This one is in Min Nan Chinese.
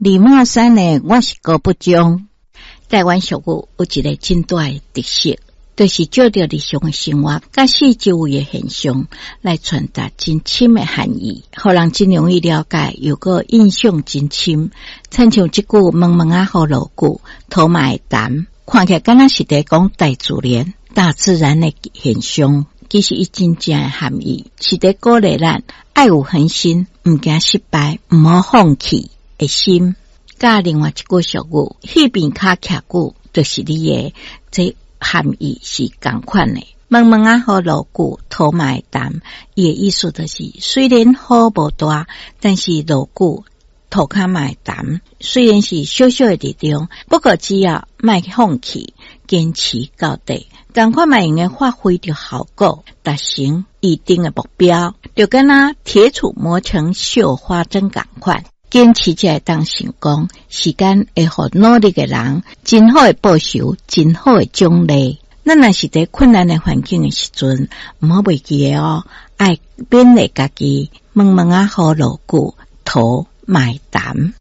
李茂山呢，我是高不忠。台灣俗語有一个真大的特色，就是藉著日常的生活佮四周圍的現象來傳達真深的含義，予人真容易了解，又閣印象真深。親像這句毛毛仔雨落久，土嘛會澹，看起來敢若是佇講大自然、大自然的現象，其實伊真正的含義是佇鼓勵咱愛有恆心，毋驚失敗，毋好放棄的心。佮另外一句俗語，彼邊跤徛久，就是你的，這含義是仝款的。毛毛仔雨落久，土嘛會澹，伊的意思就是，雖然雨無大，但是落久塗跤嘛會澹。雖然是小小的力量，不過只要莫放棄，堅持到底，仝款嘛會用得發揮著效果，達成預定的目標。就敢若鐵杵磨成繡花針仝款。堅持才會當成功，時間會予努力的人真好的報酬，真好的獎勵。咱若是佇困難的環境的時陣，毋好袂記得哦，愛勉勵家己，毛毛仔雨落久，土嘛會澹。